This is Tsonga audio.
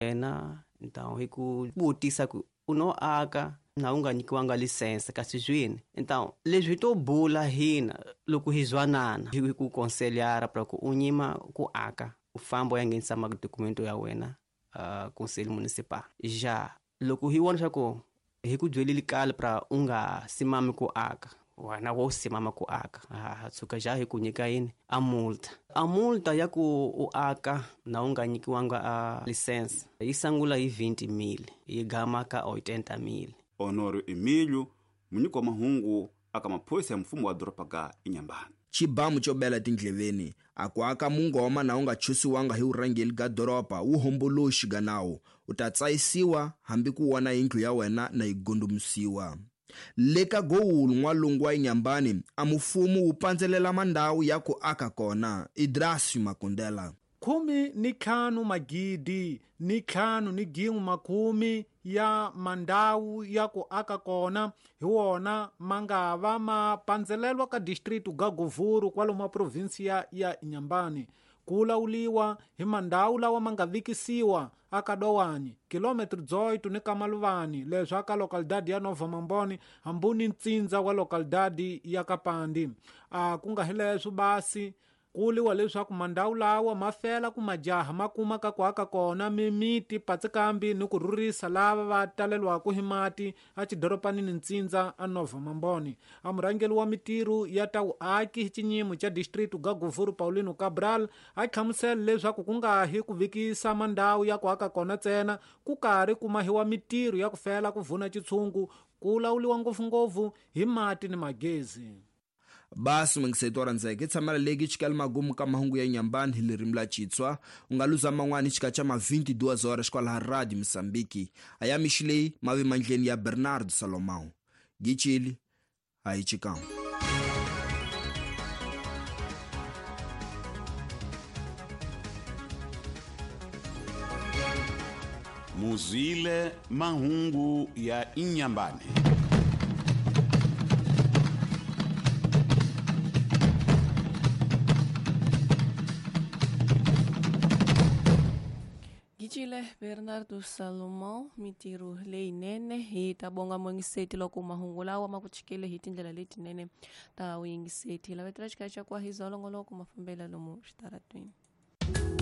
Wena então hi ku vutisa ku u no aka na u nga nyikiwanga lisense kasi zwini. Então leswi to bula hina loko hi zwanana hi ku konselyara pra ku u nyima ku aka u famba u ya nghenisa madokumento ya wena conselho municipal. Ja loko hi vona swa ku hi ku byelile kale pra u nga simami ku aka, wena wo simama ku aka, ha tshuka ja hi ku nyika yini a multa. A multa ya ku u aka na u nga nyikiwanga a lisense yi sungula hi 20,000 yi gama ka 80,000. Honório Emílio, munyiki wa mahungu aka maphorisa ya mfumo wa doroba ga Inhambane. Xibamu xo bela tindleveni a ku aka mungoma na u nga chusiwanga hi vurhangeri ga doroba wu homboloxi ga nawu u ta tsayisiwa hambi ku wona yindlu ya wena na yi gondomisiwa. Le ka Gowulu n'walungu wa Inhambane a mufumo wu pandzelela mandhawu ya ku aka kona. Idrasi Makundela. 15 magidi ni 5 ni gin'we makumi ya mandhawu ya ku aka kona hi wona ma nga va ma pandzelelwa ka distritu ga Govuro kwalomu a provinsia ya Inhambane. Ku lawuliwa hi mandhawu lawa ma nga vikisiwa aka Dowani, kilometro 18 ni Kamaluvani, leswi aka localidade ya Nova Mamboni hambuni ntsindza wa localidade ya Kapandi. A ku nga hi leswo basi ku liwa leswaku mandhawu lawa ma fela ku majaha ma kuma ka ku aka kona mimiti patsikambi ni ku rhurisa lava va talelwaka hi mati a xidoropanini ntsindza a Nova Mamboni. A murhangeri wa mitirho ya ta vuaki hi xinyimo xa distritu ga Govuro Paulino Cabral a hlamusela leswaku ku nga hi ku vikisa mandhawu ya ku aka kona ntsena, ku karhi ku mahiwa mitirho ya ku fela ku vuna xitshungu ku lawuliwa ngopfungopfu hi mati ni magezi. Basi mungiseto wa ndzeke tshamela leki xikali magumu ka mahungu ya Inhambane hi ririmi la Xitswa u nga luza man'wani xika xa ma 22 horas kwalaha Radio Mozambique. A ya mixi leyi mavi mandleni ya Bernardo Salomão. Gichili a yi chikam. Muzwile mahungu ya Inhambane. Gicile Bernardo Salomão mitirho leyinene hi ta bonga mungiseti loko mahungu lawa ma ku chikele hi tindlela letinene ta vuyingiseti. Lavetela xikaya xa kwa hi zolongoloko mafambela lomu xitaratweni.